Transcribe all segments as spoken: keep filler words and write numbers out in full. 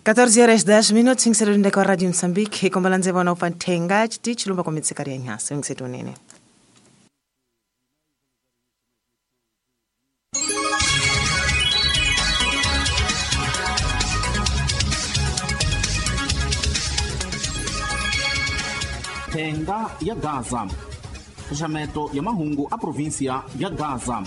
catorze horas dez minutos, cinco com a Rádio Moçambique, com balança vona upantenga, chilumba com mitsikari nhasa, ngisetunene. Thenga ya Gaza. Xaxameto ya mahungu a província ya Gaza.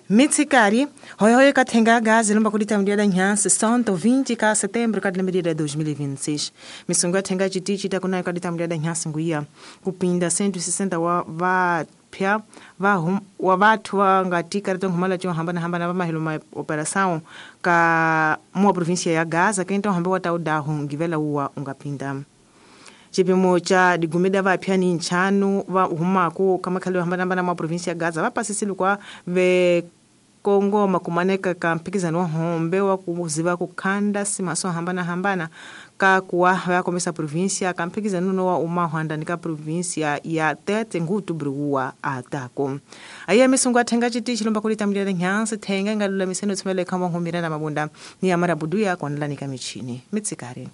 Mitsikari, hoy ka thenga Gaza lomba kulita mdiada nyansi santo vinte ka setembro ka medida dois mil e vinte e seis. Misungu thenga chitichi takuna ka mdiada nyansi nguia kupinda cento e sessenta wa va pya va hum wa vathu va nga tika ri humala cho hambana hambana va mahelo ma operação ka mua província ya Gaza que então hambe wa taudahu ngivela uwa ungapinda. Chipimo cha digumeda va pya ni nchanu va humako kama khale hambana hambana mua província ya Gaza va pasisile kwa ve Kongo makumaneka ka mpikizano wa hombe wa kuziva kukhanda simaso hambana hambana ka kuwa va komisa província ka mpikizano no wa umahwanda ni ka província ya Tete ngutu bruwa atako aye misungu athenga chitichi lomba kulita mlira nyansi thenga ngalula miseno tsumele kama ngumira na mabunda ni amara buduya kwanlani ka michini mitsikari.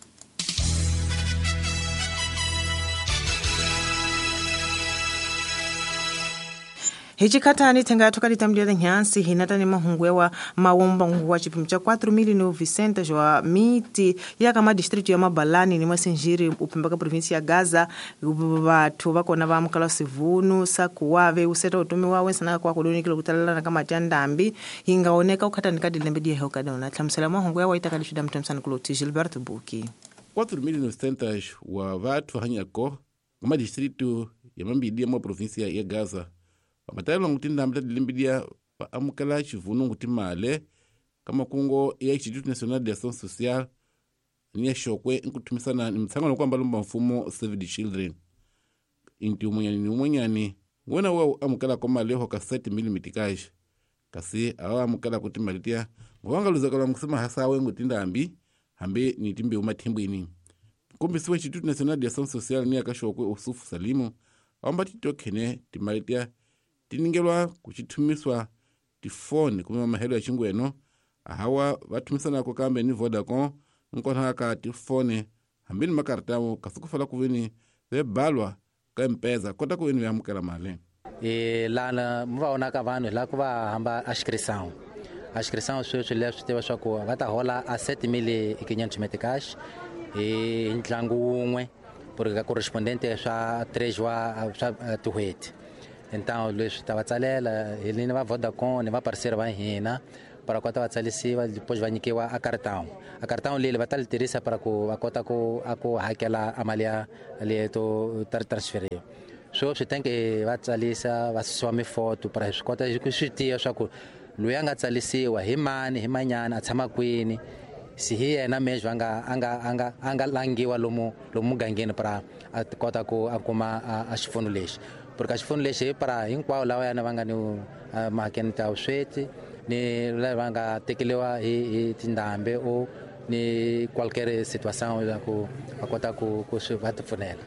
Hichikatani thenga thoka litamlia nyansi hinata ni mahungwewa mawomba nguwa chipimo cha quatro mil novecentos wa miti ya kama distrito ya Mabalani ni Masinjiri upembaka província ya Gaza vathu vakona va mukala sivunu sakuwave useta utumi wawe sana kwa kudonikile kutalala kama tandambi ingaoneka ukhatani ka dilembe die hoka dona hlamusela mahungwewa wa itakali shida mtamsana kuloti Gilberto Buki quatro mil novecentos wa vathu hanyako kama distrito ya Mambidi ya província ya Gaza Matayelo ngutinda mta dilimbidia pa amukala chivunu ngutimale kama kungo ya Instituto Nacional de Ação Social ni shokwe nkutumisana ni mtsangano kwamba lomba mfumo Save the Children inti umunyani ni umunyani ngona wa amukala kwa maleho ka sete milimetri cash kasi awa amukala kuti malitia ngwanga luzakala mkusema hasa we ngutinda ambi hambe ni timbe umathimbwini kumbi siwe Instituto Nacional de Ação Social ni akashokwe Usufu Salimu amba titokhene timalitia tiningelwa kuchithumiswa tifone kuma mahelo ya chingweno ahawa vathumisana ko kambe ni Vodacom nkona ka tifone hambini makartamo kasukufala kuvini vebalwa ka mpeza kota kuvini vamukela mali e lana muvaona ka vanhu la ku va hamba a inscrição a inscrição sweswi leswi tiva swa ku va ta hola a sete mil e quinhentos meticais e ntlangu wun'we porque ka correspondente swa três wa swa tin'hweti. Então, leswi ta va tsalela hi ni va Vodacom ni va parceiro va hina para kota va tsalisiwa depois va nyikiwa a cartão a cartão leli va ta li tirhisa para ku va kota ku a ku hakela a mali ya leyi to transferiwa so swi tenke va tsalisa va susiwa mifoto para swi kota ku swi tiva swa ku loyi a nga tsalisiwa hi mani hi manyana a tshama kwini si hi yena mesmo a nga a nga a nga a nga langiwa lomu lomu mugangeni para a kota ku a kuma a xipfuno lexi porque a xipfuno lexi para hinkwavo lava yana va nga ni mahakeni ta vusweti ni lava va nga tekeriwa hi hi tindhambi o ni qualquer situação ya ku va kota ku ku swi va tipfunela.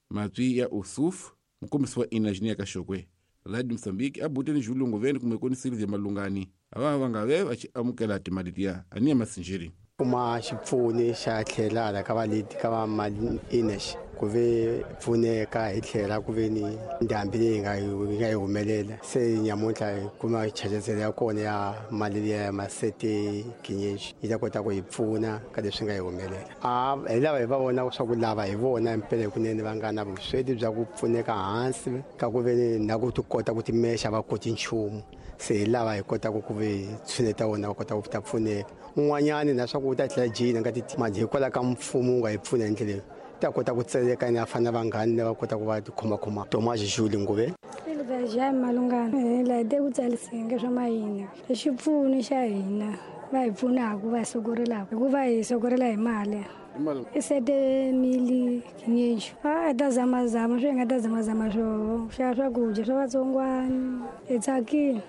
Matwi ya Usuf mukombisi wa inajini ya Kashokwe Radio Mozambique abuteni julungu veni kumekoni Silvia Malungani ava va nga ve va chi amukela timali tiya ani ya Masinjiri kuma xipfuni xa tlhela ka valeti ka va mali inesh ku ve pfuneka hi tlhela ku ve ni ndhambi leyi nga yi nga yi humelela se nyamuntlha hi kuma chachazelo ya kona ya mali liya ya masete kinyenji yi ta kota ku hi pfuna ka leswi nga yi humelela a hi lava hi va vona swa ku lava hi vona mpela kunene va nga na vusweti bya ku pfuneka hansi ka ku ve ni na ku ti kota ku timexa va koti nchumu se hi lava hi kotaka ku ve tshuneta wona va kota ku ta pfuneka un'wanyani na swa ku u ta tlhela jina nga ti mali hikwalaho ka mfumo wu nga hi pfuna hi ndlela leyi ta kota ku tseleka ni afana vanghani lava kota ku va tikhomakhoma Thomas Julie Nguve Silvia Malungana la de ku tsalisenga swa mahina xipfuno xa hina va hi pfunaka va sokorelaka hikuva hi sokorela hi mali i sete mili kinyenxo a ta zamazama swi nga ta zamazama swo xa swakudya swa vatsongwana hi tsakile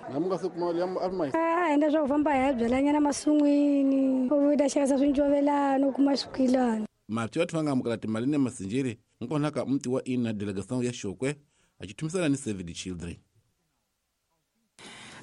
a endla swa ku famba hi ya byalanyana masun'wini u ta xavisa swincovelana u kuma swikwilana mati vathu va nga amukela timali ni Masinjiri Nkona ka mti wa ina delegação ya Xokwe achithumisana ni Save the Children.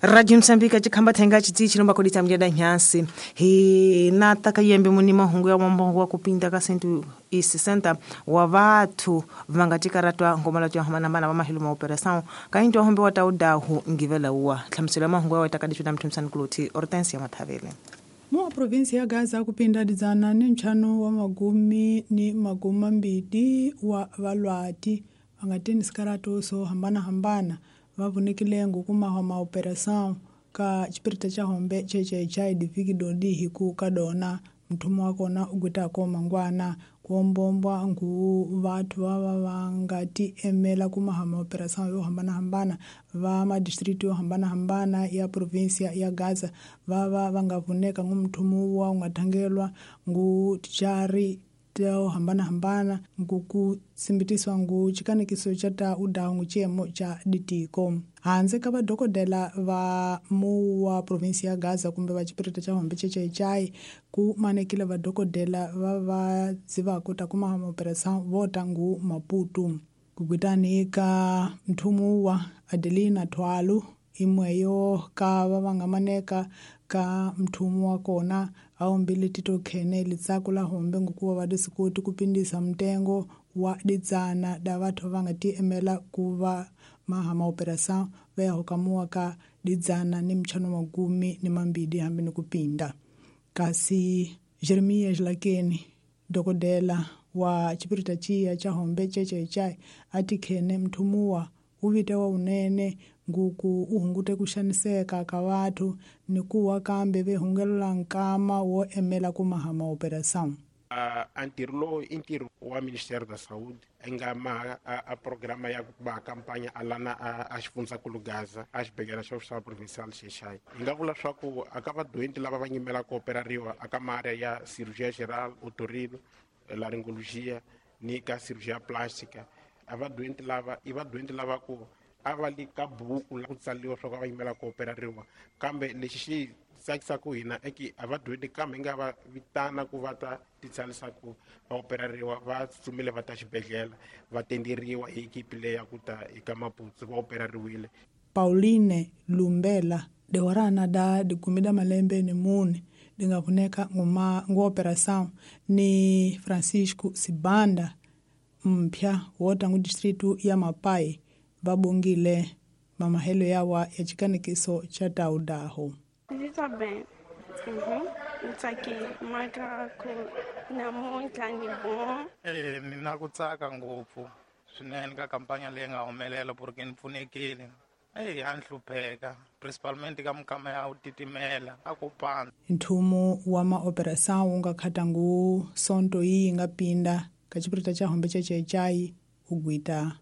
Radio Msambika chikhamba thenga chiti chilomba kodita mjada nyansi hi nataka yembe muni mahungu ya mwambongo wa kupinda ka sentu isi senta wa vathu vangatikaratu ngoma la tya mana wa mahilu ma operação kainto hombe wa taudahu ngivela uwa tlhamsela mahungu ya watakadishu na mtumsani kuloti Hortensia Mathavele. Mu provinsi ya Gaza kupinda dzana ni nchano wa magumi ni maguma mbidi wa valwati vangatini sikarato so hambana hambana vavunekile ngukuma ma operação ka chipirita cha hombe cheche cha idiviki dodi hiku kadona mthumu wakona ugwitako mangwana kuombombwa ngu vathu vava vangati emela kumahama operação yo hambana-hambana va madistrito yo hambana-hambana ya provinsia ya Gaza vava vangavuneka ngu mthumu wa ungathangelwa ngu tichari to hambana-hambana nguku simbitiswa ngu chikanekiso cha ta udawu ngu chiyemo cha ditiko hanze ka vadokodela va mu wa provinsi ya Gaza kumbe va chipirita cha hombe chechechai ku manekile vadokodela va va dzivako ta kuma operação vota ngu Maputo kugwitani ka mthumu wa Adelina Thwalu imweyo ka va vangamaneka ka mthumu wa kona aombile tito khene litsaku la hombe ngukuva va disikoti kupindisa mtengo wa didzana da vathu va nga ti emela ku va mahama operação va ya hokamuwa ka didzana ni mchano magumi ni mambidi hambi ni kupinda. Kasi Jeremiah Jlakeni dokodela wa chipirita chiya cha hombe chechechai ati khene mthumuwa uvite wa unene nguku uhungute kuxaniseka ka vathu ni kuwa kambe vehungelela nkama wo emela kumahama operação. Uh, ntirho lowu i ntirho wa Ministério da Saúde nga ma a, a programa ya ba campanha alana a, a xifundzankulu Gaza a xibedhlele xa xa provincial Xexai hi nga vula swa ku aka vadoenti lava va nyimela ku operariwa aka maarea ya cirurgia geral, otorrino, laringologia ni ka cirurgia plástica a vadoenti lava i vadoenti lava ku a va li ka buku la ku tsaliwa swa ku va yimela ku operariwa kambe lexi xi tsakisaka hina i ki a va dyondzi kambe hi nga va vitana ku va ta titsalisa ku va operariwa va tsutsumile va ta xibedhlele va tenderiwa hi ekipi leyi ya ku ta eka Maputo va operariwile. Pauline Lumbela dewarana da dikumi da malembe ni mune dingavuneka nguma ngu operação ni Francisco Sibanda mpya wota ngu distritu ya Mapai vabongile mamahelo yawa ya chikanekiso cha taudaho. Ndzi bem. Uhum. Ntsakile maka ku namuntlha ni bon. Eh ni na ku tsaka ngopfu swinene ka kampanya leyi nga humelela porque ni pfunekile. Eh ya nhlupheka principalmente ka mukama ya u titimela a ku pandza. Nthumu wa ma operação wu nga khata ngu sonto yi nga pinda ka chipirita cha hombe chechechai ugwita